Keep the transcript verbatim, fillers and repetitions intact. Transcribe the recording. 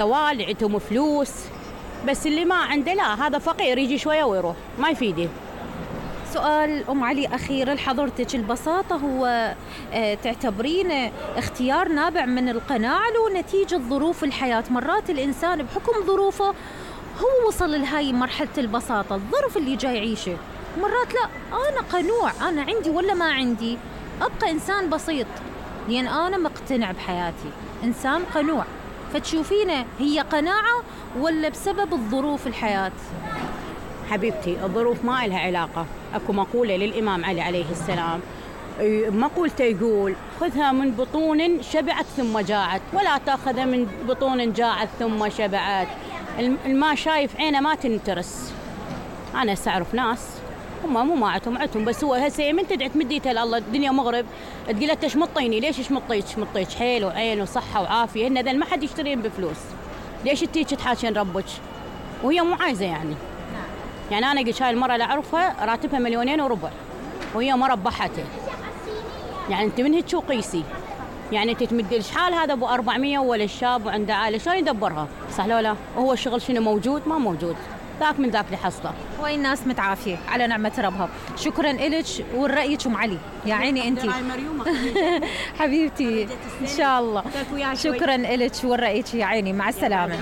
والي عندهم فلوس، بس اللي ما عنده لا، هذا فقير يجي شوية ويروح ما يفيده. سؤال أم علي أخير لحضرتك، البساطة هو اه تعتبرين اختيار نابع من القناعة لو نتيجة ظروف الحياة؟ مرات الإنسان بحكم ظروفه هو وصل لهاي مرحلة البساطة، الظرف اللي جاي يعيشه، مرات لا، أنا قنوع، أنا عندي ولا ما عندي أبقى إنسان بسيط لأن أنا مقتنع بحياتي، إنسان قنوع. فتشوفينه هي قناعة ولا بسبب الظروف الحياة؟ حبيبتي الظروف ما إلها علاقة. أكو مقولة للإمام علي عليه السلام، مقولته يقول: خذها من بطون شبعت ثم جاعت، ولا تأخذها من بطون جاعت ثم شبعت. الما شايف عينه ما تنترس. أنا سأعرف ناس هم مو ما عتهم عتهم، بس هو هسه من تدعي تمد ايدها لله، الدنيا مغرب، تقول له تشمطيني، ليش شمطيك؟ شمطيك حيل وعين وصحة وعافية، هن ذل ما حد يشترين بفلوس، ليش تيجي تحاشين ربك؟ وهي مو عايزة يعني. يعني أنا قلت هاي المرة اللي أعرفها راتبها مليونين وربع وهي مرة بحته. يعني أنت من هيك شو قيسي؟ يعني أنت تمد شحال هذا أبو أربعمية ولا الشاب وعنده عائلة، شلون يدبرها؟ صح لو لا؟ وهو الشغل شنو موجود؟ ما موجود، ذاك من ذاك لحصله. وين الناس متعافية على نعمة ربها. شكرا إلك ورأيك أم علي، يا عيني أنتي حبيبتي إن شاء الله. شكرا إلك ورأيك يا عيني، مع السلامة.